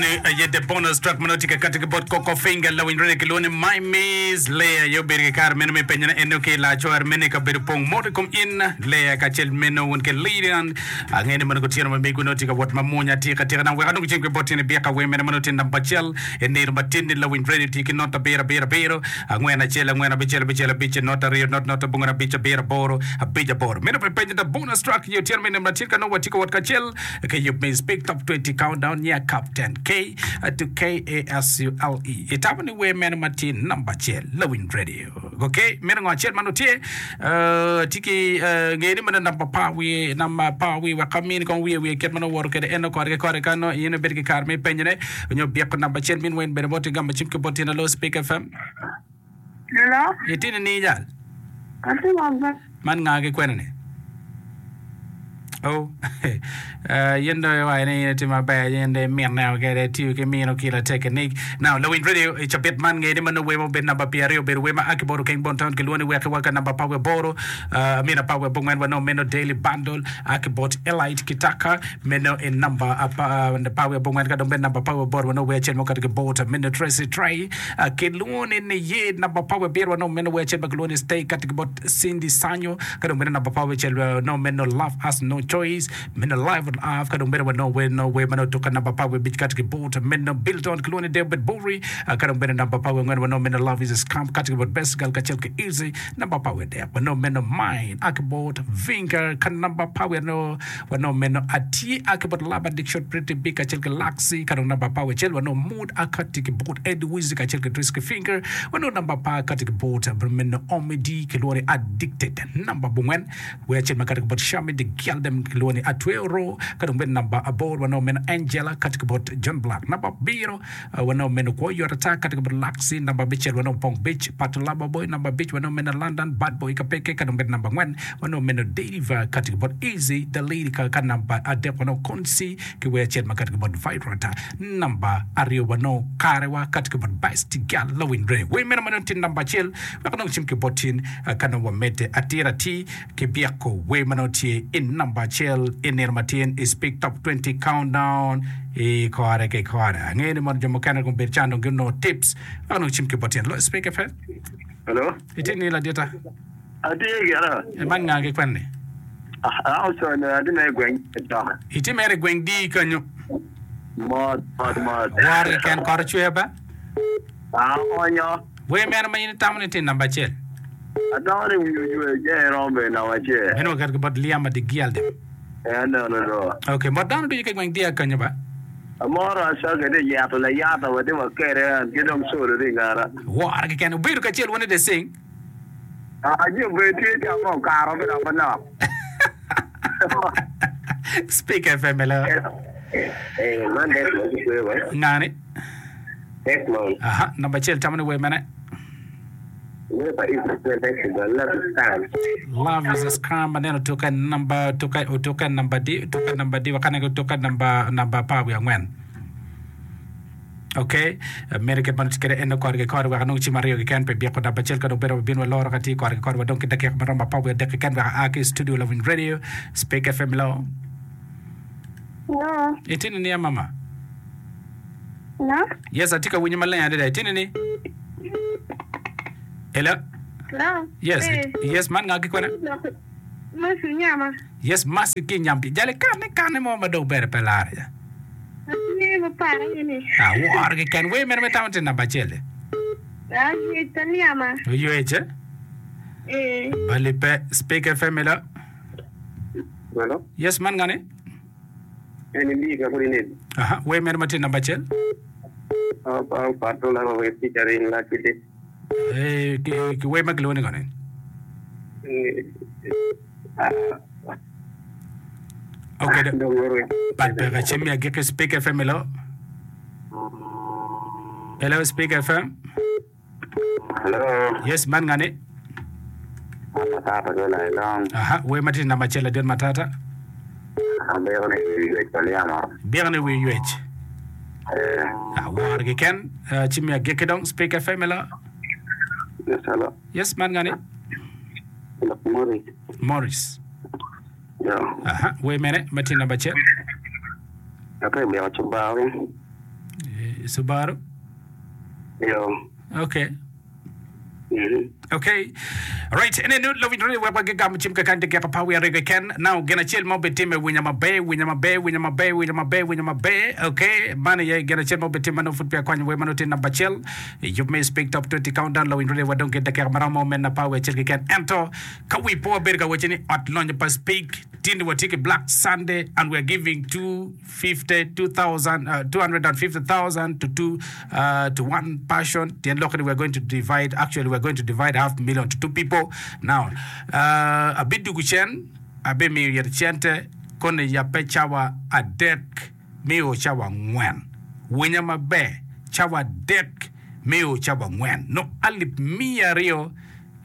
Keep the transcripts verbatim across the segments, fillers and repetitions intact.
Eni aye the bonus track ma nongo tye ka kati ki bot Coco Finger lawiny radio kilwongo ni My Miss Lea aye obedo ki kare meno me penyone eno ki lacor meno i kabedo pong mot i kom in Lea kacel meno wun ki Lilian angeyo ni mono kutyeno ma mego nongo tye ka wot ma mwonya atika atika dong wek anong ceng ki bot in ibyeka wer mene ma nongo tye namba acel i nino matin ni lawiny radio tye ki not abiro abiro abiro angwen acel angwen abicel abicel abic not aryo not not abongwen abic abiro aboro abic aboro meno pe penyo the bonus track i otyeno me nino matin ka nongo watye ka wot kacel Ki yub me Speak Top Twenty Countdown nya Captain K to K A S U L E. Itamo ni wer meno ma tye namba acel lawiny radio. Ok, meno ngo acel ma nongo tye uh, tye ki uh, ngeyo ni meno namba par wiye namba par wiye wek amini kong wiye wiye kit ma nongo woto kwede eno kore ki kore ka nongo in ibedo ki kare me penyone nyo byeko namba acel min wen bene bot igamo cim ki bot in alo Speak F M. Hello. Itye nining jal? Atye maber. Man nga ki kwene ni? Oh, uh, yin dong iwaco ni in itye maber, yin dong imineo kede, itiyo ki mino ki latekinik. Now, lawiny radio i cabit man nge ni ma nongo wer ma obedo namba pyeraryo obedo wer ma a ki bot Okeng Bon Town kilwongo ni Wek Iwa ka namba apar wiye aboro, uh, amino apar wiye abongwen wanongo meno Daily Bundle a ki bot Elite Kitaka meno i namba apar wiye abongwen ka dong bene namba apar wiye aboro wanongo wer acel ma okato ki bot meno Tracy Trey Kilwongo ni Niye, namba apar wiye abiro wanongo meno wer acel ma kilwongo ni Stay kati ki bot Cindy Sanyo, ka dong bene namba apar wiye acel wanongo meno Love Has No Choice, meno Live on Earth, ka dong bene wanongo wer no wer ma nongo tuka namba apar wiye abic kati ki bot meno Bilton kilwongo ni David Bowie, ka dong bene namba apar wiye angwen wanongo meno Love Is a Scam kati ki bot Best Girl kacel ki Easy, namba apar wiye adek wanongo meno Mine a ki bot Vinker, ka namba apar wiye aryo wanongo meno Atye a ki bot Love Addiction Pretty Big kacel ki Luxy, ka dong namba apar wiye acel wanongo Mood Akati ki bot Ed Wizzy kacel ki Triski Finger wanongo namba apar kati ki bot meno Omi D kilwongo ni Addicted namba abongwen wer acel ma kati ki bot Shami The Gyaldem kilwongo ni Atweo Ro ka dong bene namba aboro wanongo meno Angela kati ki bot John Black namba abiro wanongo meno Kwo Yot Ata kati ki bot Laxy namba abicel wanongo Pong Beach Pato Laba Boy namba abic wanongo meno London Bad Boy Kapeke ka dong bene namba angwen wanongo meno Dave kati ki bot Easy The Lady ka namba adek wanongo Konsi ki wer acel ma kati ki bot Vibrata. Namba aryo wanongo karewa kati ki bot Best Girl Lawiny Ray. Wer meno ma nongo tye namba acel wek anong cim ki bot tin ka nongo wamedde atir atir ki byeko wer ma nongo tye i namba acel i nino matin i Speak Top Twenty Countdown i kore ki kore. Angeyo ni mono jo mukene gubedo ca dong ginongo tips wek anong cim ki bot tin. Loyo Speak F M. Hello. Itye ni ladita? Atye gira. Man nga ki kwen ni? An ocono atye mere i gweng Doka. Itye mere i gweng di kanyo? Mot, mot, mot. Woro keken kot ocwer ba? Aonyo. Wer mene ma in itamo ni tye namba acel? Atamo ni wi ocwer ce iromo bedo namba acel. Meno waketo ki bot Liam Adigialde. Ee aneno do. Ok, mot dano ducu ki gweng di kanyo ba? Amoro Asake tye yeto layata wa tye wa kede an ki dong Solo tye i ngara. Woro keken. Wubedo kacel wun i the sing. Aye obed tye ca ma okato ki dok manok. Speak F M hello. Eh, man Desmond ki kweyo wa. Ngani? Desmond. Aha, namba acel tamo ni wer mene? Wer pa Israel Festival, Love is Scam. Love is a scam aneno otuke namba otuke otuke namba di otuke namba di wakane otuke namba namba apar wiye angwen. Ok, mere kit ma nongo tye kwede en kore ki kore wek anong cim aryo keken pi byeko namba acel ka dong bedo wabin waloro ka tye kore ki kore wadong ki dakika ma romo apar wiye adek keken wek aa ki i studio lawiny radio Speak F M Hello. Hello. Itye ninia mama? Hello. Yes, atye ka winyi maleng adada. Itye nini? Hello. Hello. Yes, Eh. yes, man nga ki kwene? Mercy Nyama. Yes, Mercy ki Nyampi. Jali kane kane mo ma dong bene pe lare ja. Atye mapar aye ni. Aworo keken. Wer mene ma itamo tye namba acel-li? Aywec pa Nyama. Oywec eh? Ee. Bali pe. Speak F M hello. Hello. Yes, man ngani? En imbi ka kodi nedi. Aha, wer mene ma tye namba acel? Aw pato lama wer featuring Lucky Day. Eh, ki, ki wer ma kilwongo ni ngoni? Ok, bal peke cim me agikki Speak F M hello. Hello Speak F M. Hello. Yes, man ngani? Matata ki olai long. Aha, wer ma tye namba acel ladit Matata. Abiko ni wi ywec pa Lyamo. Biko ni wi ywec. Eh. Awor keken. Uh, cim me agikki dong Speak F M hello. Yes, hello. Yes, man ngani? Morris. Morris. Yo. Aha, wer mene ma tye namba acel? Ate myero cubawi. Subaru? Yo. Okay. Mhm. Okay. Right. Ene nu lawiny radio wek wagigamo cim kakany dakika apar wiye aryo keken. Now gin acel ma obitimme winya maber, winya maber, winya maber, winya maber, winya maber. Okay. Man aye gin acel ma obitimme nongo pud peya akwanyo wer ma nongo tye namba acel. I yub me Speak Top twenty Countdown lawiny radio wadong ki dakika maromo meno apar wiye acel keken. Ento ka wi po wabedo ka wacci ni ot lonyo pa Speak tye ni watye ki Black Sunday and we are giving two fifty, two thousand, uh, two hundred and fifty thousand to two, uh, to one person. Tyen lokke ni we are going to divide, actually we are going to divide half million to two people. Now, uh, abidugu cen, abimiyo yet cente, koni yabbe cawa adek miyo cawa angwen. Winya maber, cawa adek miyo cawa angwen. No alip miya aryo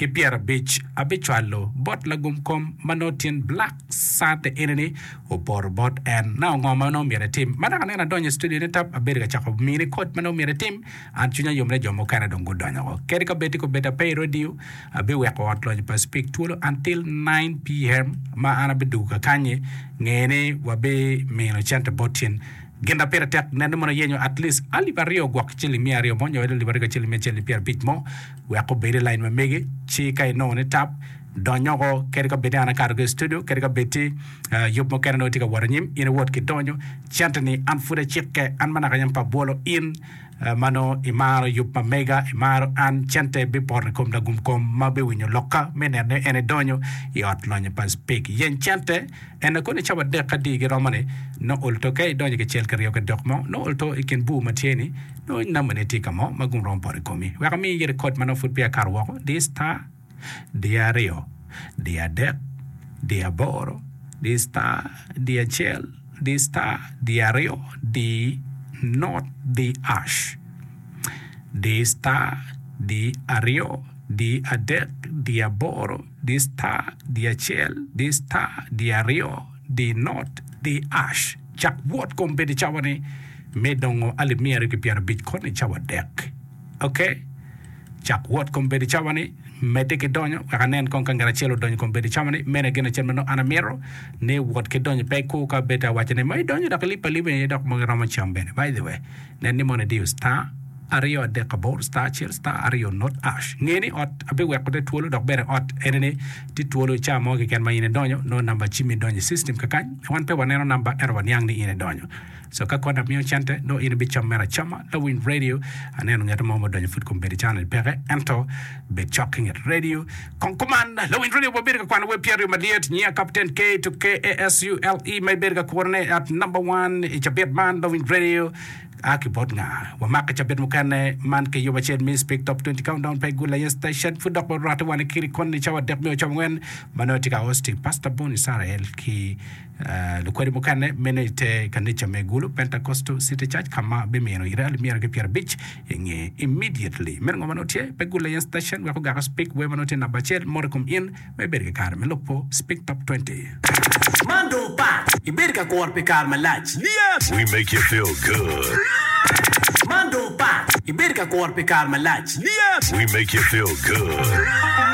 ki pyerabic abicwalo bot lagum kom ma nongo tyen Black Sunday eni-ni opoto bot en. Na ongo ma nongo myero etim? Ma dok aneno adonyo i studio ni tap abedo ka cako mini kod ma nongo myero etim, an cwinya yom ni jo mukene dong gudonyo woko. Kadi ka bed tye kobedo ape i radio, abiweko ot lonyo pa Speak twolo until nine PM ma an abidugo kakany-nyi, nge ni wabimino cente bot tyen. Gin ma pire tek nen ni mono iyenyo at least alip aryo gwok ciling miya aryo mo nyo alip aryo kacel miya acel ki pyerabic mo wek obed i line ma megi ci ka inongo ni tap dony oko kadi ka bed ni an akato ki i studio kadi ka bed ti yub mukene nongo tye ka wot anyim in iwot ki donyo cente ni an pud acikke an ma naka yam pe abwolo in ma nongo imaro yub ma mega imaro an cente bipoto i kom lagum kom ma biwinyo lokka me neno ni en edonyo i ot lonyo pa Speke yeny cente En kono i cawa adek adi giromo ni nongo olto ka idonyo kicel kiryo ki dok mo nongo olto i kin bur ma tye ni nongo namba ne tye ka mo ma gum romo poto i komi. Wek amiyi yite kod ma nongo pud peya akato woko, di star, di aryo, di adek, di aboro, di star, di acel, di star, di aryo, di not, di ash, di star, di aryo, di adek, di aboro, Di star, di acel, di star, di aryo, di not, di ash. Cak wot kombeddi cawa-ni me dongo alip miya aryo ki pyerabic koni cawa adek. Ok? Cak wot kombeddi cawa-ni, medde ki donyo, wek anen kong ka ngat acel odonyo kombeddi cawa-ni. Meno aye gin acel ma nongo an amito, ni wot ki donyo. Pe ikur ka bed awaco ni ma idonyo dok ilib aliba aye dok mogo iromo cam bene. By the way, nen ni mono idiyo star. Aryo adek aboro star acel star aryo not ash. Nge ni ot abiweko te twolo dok bene ot ene ni tye twolo i caa mo keken ma in idonyo nongo namba cimmi donyo i system kakany wan pe waneno namba ento waniang ni in idonyo. So ka koni amiyo cente nongo in ibicamo mere acama. Lawiny radio aneno ngeto mo ma odonyo pud kombeddi caa ni peke ento bed cok ki nget radio. Kong kuman lawiny radio wabedo ka kwano web pyeraryo malyet nyiya Captain K to K A S U L E ma ibedo ka kurone at number one i cabit man lawiny radio. A ki bot nga? Wamako i cabit mukene man ki yub acel me Speak Top twenty Countdown pa i Gul Aye Station. Pud dok warwatte wan ki koni i cawa adek me ocawa angwen ma nongo tye ka hosting Pastor Bonnie Sarael ki lukwedi mukene meno i te kanica me Gulu Pentecostal City Church ka ma bimino ire alip myero ki pyerabic i nge immediately. Meno ngo ma nongo tye pe Gul Aye Station wek ogako Speak wer ma nongo tye namba acel mot i kom in ma ibedo ki kare me lubo Speak Top twenty. Man dong pat! Ibedo ka kuro pi kare malac. We make you feel good. Man dong pat! Ibedo ka kuro pi kare malac. We make you feel good.